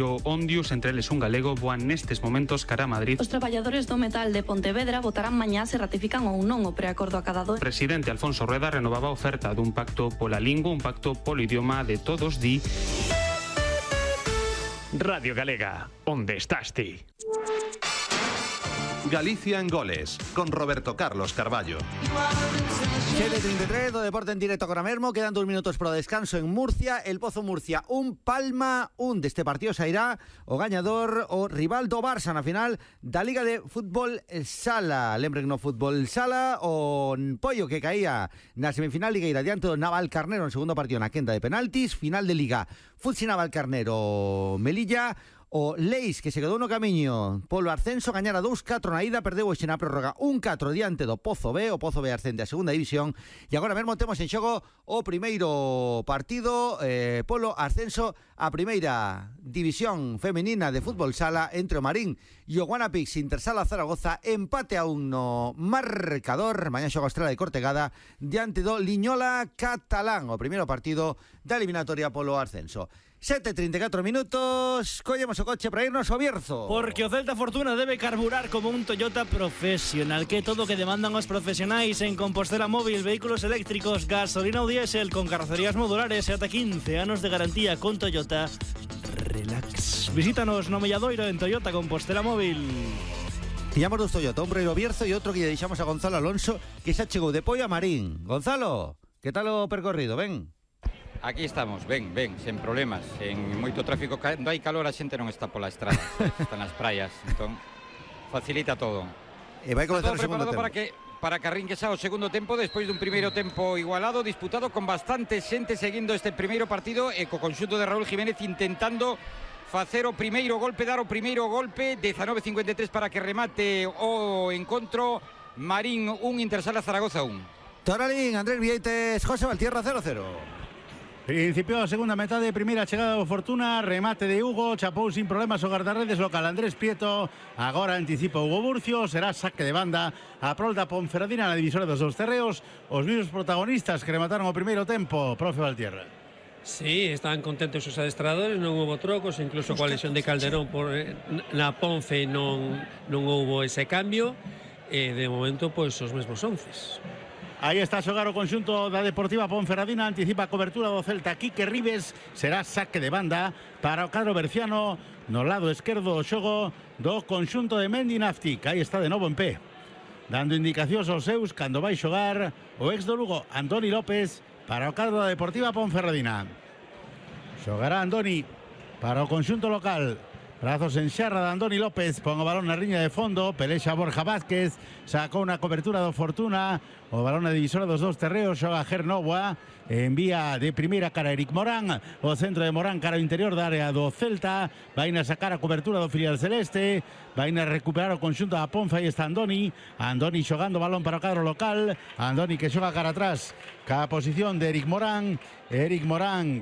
Ondius, entre eles un galego, voan nestes momentos cara a Madrid. Os traballadores do metal de Pontevedra votarán mañá se ratifican ou non o preacordo acadado. O presidente Alfonso Rueda renovaba a oferta dun pacto pola lingua, un pacto polo idioma de todos, di. Radio Galega, onde estás ti? Galicia en goles, con Roberto Carlos Carballo. 7:33 do deporte en directo agora mesmo. Quedan 2 minutos para o descanso en Murcia. El Pozo Murcia, un Palma, un deste partido sairá o gañador, o rival do Barça na final da Liga de Fútbol Sala. Lembren no Fútbol Sala, o Pollo que caía na semifinal ligueira diante do Navalcarnero no segundo partido na quenda de penaltis. Final de Liga, Futsi Navalcarnero Melilla. O Leis, que se quedou no camiño polo ascenso, gañara 2-4 na ida, perdeu hoxe na prórroga 1-4 diante do Pozo B. O Pozo B ascende a segunda división e agora mesmo temos en xogo o primeiro partido polo ascenso a primeira división femenina de fútbol sala entre o Marín e o Guanapix Intersala Zaragoza. Empate a 1 no marcador. Mañá xoga a Estrela de Cortegada diante do Liñola Catalán, o primeiro partido da eliminatoria polo ascenso. 7:34 minutos, collemos o coche para irnos ao Bierzo. Porque o Celta Fortuna debe carburar como un Toyota profesional, que é todo o que demandan os profesionais en Compostela Móvil, vehículos eléctricos, gasolina ou diésel, con carrocerías modulares e ata 15 anos de garantía con Toyota. Relax. Visítanos no Melladoiro en Toyota Compostela Móvil. Pillamos dos Toyota, un para ir ao Bierzo e outro que lle deixamos a Gonzalo Alonso, que xa chegou de Pollo a Marín. Gonzalo, que tal o percorrido? Ben. Aquí estamos, ben, sen problemas. En moito tráfico, cando hai calor a xente non está pola estrada, está nas praias, entón facilita todo. E vai comezar o segundo tempo. Para que arrinque xa o segundo tempo, despois dun primeiro tempo igualado, disputado con bastante xente seguindo este primeiro partido e co conxunto de Raúl Jiménez intentando facer o primeiro golpe, dar o primeiro golpe. 19:53 para que remate o encontro. Marín 1, Intersala Zaragoza 1. Toralín, Andrés Vieites, José Valtierra 0-0. Principiou a segunda metade, primeira chegada do Fortuna, remate de Hugo, chapou sin problemas o guardarredes local Andrés Prieto, agora anticipa Hugo Burcio, será saque de banda a prol da Ponferradina na divisora dos dous terreos, os mismos protagonistas que remataron o primeiro tempo, profe Valtierra. Sí, estaban contentos os adestradores, non houve trocos, incluso coa lesión de Calderón na Ponfe non houve ese cambio, e de momento pois os mesmos 11. Aí está a xogar o conxunto da Deportiva Ponferradina, anticipa a cobertura do Celta. Quique Ribes, será saque de banda para o cadro berciano no lado esquerdo do xogo do conxunto de Mendi Naftic. Aí está de novo en pé, dando indicacións aos seus cando vai xogar o ex do Lugo, Antoni López, para o cadro da Deportiva Ponferradina. Xogará Andoni para o conxunto local. Brazos en xarra de Andoni López, pon o balón na riña de fondo, pelexa Borja Vázquez, sacou unha cobertura do Fortuna, o balón na divisora dos dous terreos, xoga Gernoa, envía de primeira cara Eric Morán, o centro de Morán cara ao interior da área do Celta, vai na sacar a cobertura do filial celeste, vai na recuperar o conxunto da Ponfa, aí está Andoni xogando balón para o cadro local, Andoni que xoga cara atrás, ca posición de Eric Morán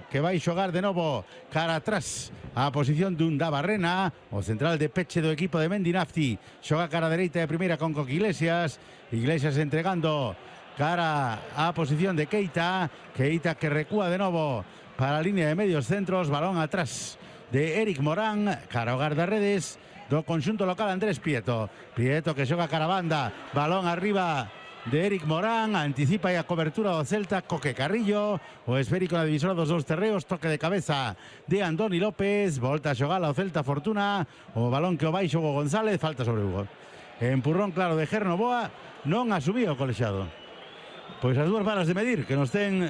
que vai xogar de novo cara atrás a posición dun da Barrena, o central de peche do equipo de Mendi Nafti, xoga cara dereita de primeira con Coque Iglesias entregando cara a posición de Keita que recúa de novo para a línea de medios centros, balón atrás de Eric Morán, cara ao guardarredes do conxunto local Andrés Prieto que xoga cara a banda, balón arriba de Eric Morán, anticipa a cobertura do Celta, Coque Carrillo, o esférico na divisora dos dous terreos, toque de cabeza de Andoni López, volta a xogar ao Celta Fortuna, o balón que o vai Hugo González, falta sobre Hugo. Empurrón claro de Gernoa, non asumía o colexiado. Pois as dúas varas de medir que nos ten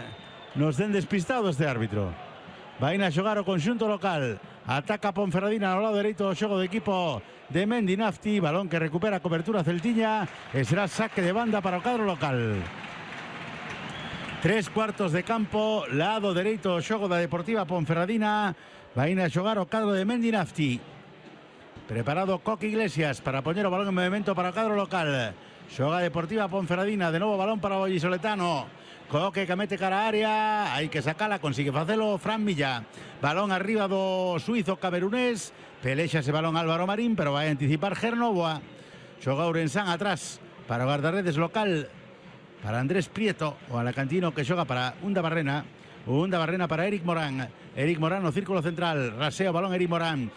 despistado este árbitro. Vai a xogar o conxunto local, ataca Ponferradina no lado dereito do xogo do equipo de Mendi Nafti, balón que recupera a cobertura celtiña e será saque de banda para o cadro local. 3/4 de campo, lado dereito do xogo da Deportiva Ponferradina, vai a xogar o cadro de Mendi Nafti. Preparado Coque Iglesias para poñer o balón en movimento para o cadro local. Xoga Deportiva Ponferradina, de novo balón para o vallisoletano. Coque que mete cara a área, hai que sacala, consigue facelo Fran Milla. Balón arriba do suizo camerunés, pelexa ese balón Álvaro Marín, pero vai anticipar Gernoa. Xoga Ourensán atrás para o guardarredes local, para Andrés Prieto, o alacantino que xoga para Unda Barrena. Un da barrena para Eric Morán. Eric Morán no círculo central. Rasea o balón Eric Morán.